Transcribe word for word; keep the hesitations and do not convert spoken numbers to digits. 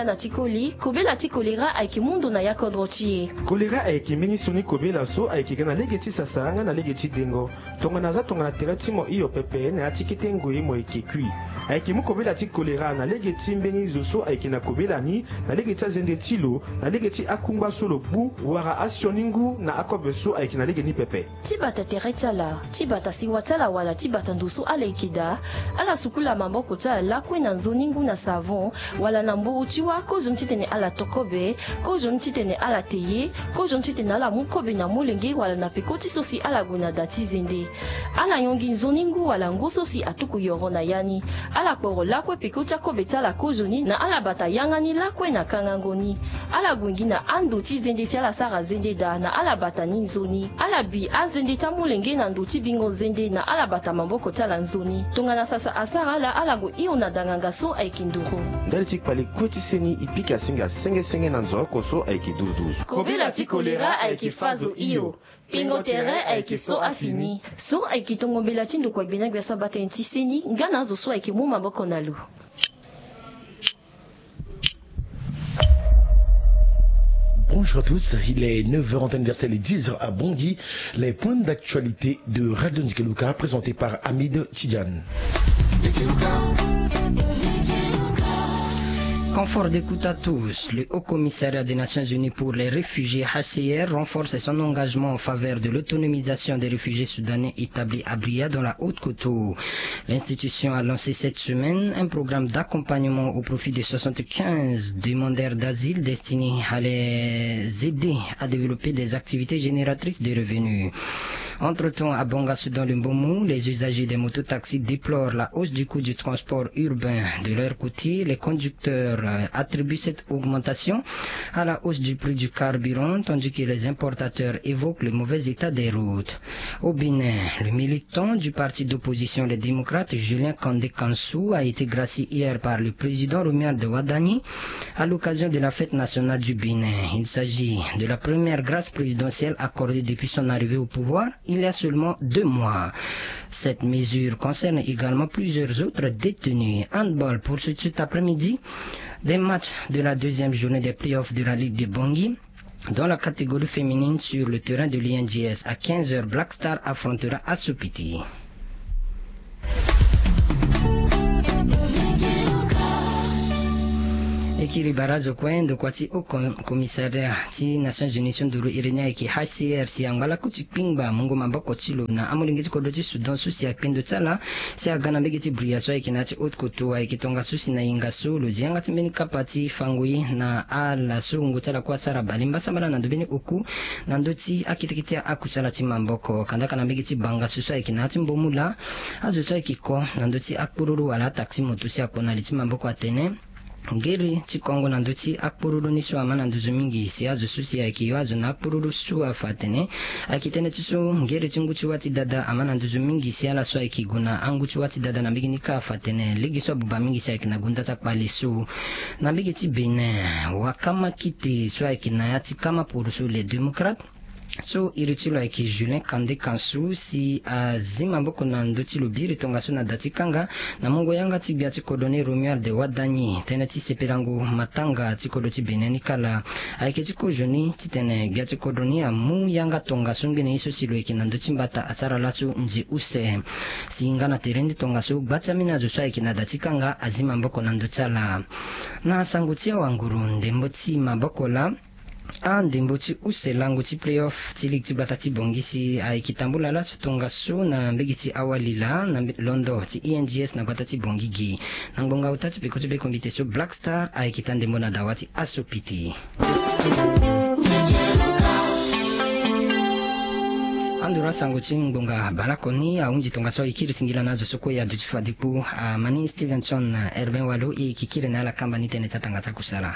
Na ti koli, kobela ti kolera ayeke mu ndo na ya kodro ti e. Kolera ayeke mbeni sioni kobela so ayeke ga na lege ti sasa nga na lege ti dengo. Tongana aza tongana tere ti mo hio pepe na ya ti kete ngoi mo yeke kui. Ayeke mu kobela ti kolera na lege ti mbeni zo so ayeke na kobela ni, na lege ti azende ti lo, na lege ti akungba so lo gbu, wala asioni ngu na akobe so ayeke na lege ni pepe. Ti bata tere ti ala, ti bata sewa ti ala wala ti bata ndo so ala yeke daa, ala sukula maboko ti ala lakue na nzoni ngu na savon, wala na mburu ti wâ, kozoni titene ala to kobe, kozoni titene ala te ye, kozoni titene ala mu kobe na molenge wala na peko ti so si ala gue na da ti zende. Ala yongi nzoni ngu wala ngu so si atuku yoro na ya ni. Ala kporo lakue peko ti akobe ti ala kozoni na ala bata yanga ni lakue na kangango ni. Ala gue gi na ando ti zende si ala sara zende daa na ala bata ni nzoni. Ala bi azende ti amolenge na ndo ti bingo zende na ala bata maboko ti ala nzoni. Tongana sasa asara ala, ala gue hio na danganga so ayeke nduru. Ndali ti kpale kue ti seni, e pika singa senge senge na nzoni oko so ayeke duzu duzu. Kobela ti kolera ayeke fa zo hio. Pingo tere ayeke so afini. So ayeke tongo mbela ti ndokua gbia na gbia so abata ni ti seni nga na azo so ayeke mu maboko na lo. Bonjour à tous, il est neuf heures en temps universel et dix heures à Bangui. Les points d'actualité de Radio Ndikeluka présentés par Hamid Tidjane. Confort d'écoute à tous. Le Haut Commissariat des Nations Unies pour les réfugiés, H C R, renforce son engagement en faveur de l'autonomisation des réfugiés soudanais établis à Bria dans la Haute-Kotto. L'institution a lancé cette semaine un programme d'accompagnement au profit de soixante-quinze demandeurs d'asile destiné à les aider à développer des activités génératrices de revenus. Entre-temps, à Bangassou dans le Mbomou, les usagers des mototaxis déplorent la hausse du coût du transport urbain. De leur côté, les conducteurs, euh, attribuent cette augmentation à la hausse du prix du carburant, tandis que les importateurs évoquent le mauvais état des routes. Au Bénin, le militant du parti d'opposition Les Démocrates, Julien Kandé Kansou, a été gracié hier par le président Romuald Wadagni à l'occasion de la fête nationale du Bénin. Il s'agit de la première grâce présidentielle accordée depuis son arrivée au pouvoir il y a seulement deux mois. Cette mesure concerne également plusieurs autres détenus. Handball, pour ce, cet après-midi, des matchs de la deuxième journée des playoffs de la Ligue de Bangui. Dans la catégorie féminine, sur le terrain de l'I N G S, à quinze heures, Black Star affrontera Assoupiti. E kiri barazo kue ndokua ti Haut Com-, Commissariat ti Nations Unies so nduru iri ni ayeke H C R si angba laku ti kpingba mungo maboko ti lo na amolenge ti kodro ti Soudan so si akpe ndo ti ala si aga na mbege ti Bria so ayeke na ya ti Haute-Kotto. Ayeke tongaso si na hinga so lo zi yanga ti mbeni kapa ti fango ye na ala so wungo ti ala kue asara bale mbasambala na ndo mbeni oku na ndö ti akete kete akusala ti maboko. Kandaka na mbege ti Bangassou so ayeke na ya ti Mbomou laa, azo so ayeke ko na ndö ti akpururu wala ataxi moto si akpo na li ti maboko atene ngere ti kongo na ndö ti akpururu ni so ama na nduzu mingi si azo so si ayeke yo azo na akpururu so afa atene ayeke tënë ti so ngere ti ngu ti wâ ti dada ama na nduzu mingi si ala so ayeke gue na angu ti wâ ti dada na mbege ni kâ afa atene lege so abuba mingi si ayeke na gunda ti akpale so. Na mbege ti Bénin, wakama kite so ayeke na ya ti kama poroso Les Démocrates, so iri ti lo ayeke Julien Kandé Kansou si azi maboko na ndö ti lo biri tongaso na da ti kanga na mungo yanga ti gbia ti kodro ni Romuald Wadagni. Tënë ti sepelango matanga ti kodro ti Bénin ni kala ayeke ti kozoni titene gbia ti kodro ni amu yanga tongaso ngbene ye so si lo yeke na ndö ti mbata asara laso nze use. Si nga na tere ni tongaso gba ti ambeni azo so ayeke na da ti kanga azi maboko na ndö ti ala. Na sango ti awanguru, ndembo ti maboko laa, andembo ti use lango ti playoff ti ligue ti gbata ti Bangui si ayeke tambula laso tongaso na mbege ti awali laa na mbe-, londo ti I N G S na gbata ti Bangui gi. Na ngbonga ota ti peko ti be kombite so Black Star ayeke taa ndembo na dawa ti Assoupiti. Anduru asango ti ngbonga baleoko ni ahunzi tongaso. E kiri singila na azo so kue e aduti fade kpo, ah, Mani Stevenson, ah, Herbin Walo, e yeke kiri na ala kamba ni tënë ti atanga ti akusala.